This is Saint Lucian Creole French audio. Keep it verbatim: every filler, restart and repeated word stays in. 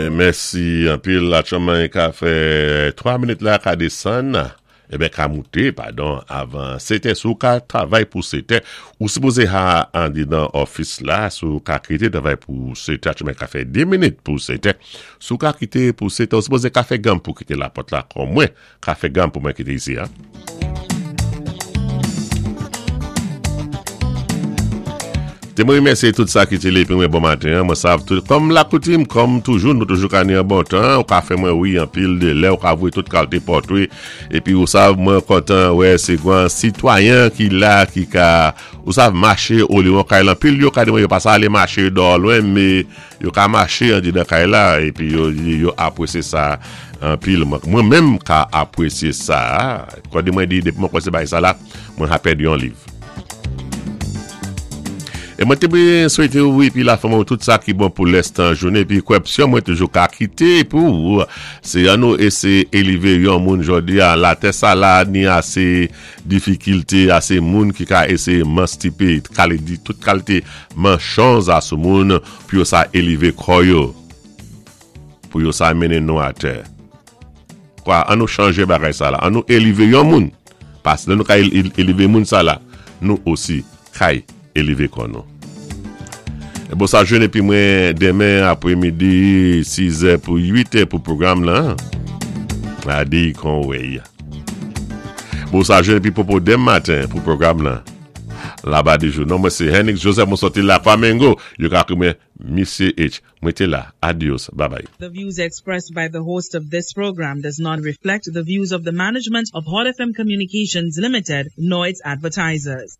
Mèsi anpil la ka fè twa minit la ka désann ében ka mouté padon avan sètè si ou ka travay pou sètè ou sipozé ha andidan office la si ou ka kité travay pou sètè aktyèlman ka fè di minit pou sètè si ou ka kité pou sètè ou sipozé ka fè gan pou kité lapòt la kon mwen ka fè gan pou mwen kité isi an. Té mwen rémèsyé tout sa ki té la épi mwen bon maten, mwen sav tout, kòm lakoutim, kòm toujou, nou toujou ka ni an bon tan, ou ka fè mwen wi anpil dé lè, ou ka voyé tout kalité pòtwé, épi ou sav mwen kontan, wè, sé gwan sitwayen ki la, ki ka, ou sav maché olé kay la, anpil yo ka di mwen yo pa sa alé maché dò lwen, mé yo ka maché andidan kay la, épi yo, yo apwésyé sa anpil. Mwen menm ka apwésyé sa, kwa di mwen di, dépi mwen kwè sé bagay sa la, mwen ha pèdi yon liv. É mwen té byen swété ou épi la fanmi tout sa ki bon pou lèstan jounen épi kwèpsyon mwen toujou ka kité pou sé an nou éséyé élévé yon moun jòdi a latè sa la ni asé difikilté asé moun ki ka éséyé manstipé kale di tout kalité manchonz a sou moun pou yo sa élévé kò yo pou yo sa mennen nou atè kwa an nou chanjé bagay sa la an nou élévé yon moun paské lè nou ka élévé moun sa la nou osi kay élévé kò nou. É bon sa jwenn épi mwen denmen apwémidi sizè pou uitè pou pwogram lan. A di kon wèy. Bon sa jwenn épi popo denmen maten pou pwogram lan. Laba di jou. Non mwen sé Henrik Joseph mwen sòti la Flamengo. Yo ka kwé mwen Misye H. Mwen té la. Adios. Bye bye. The views expressed by the host of this program does not reflect the views of the management of Hot F M Communications Limited nor its advertisers.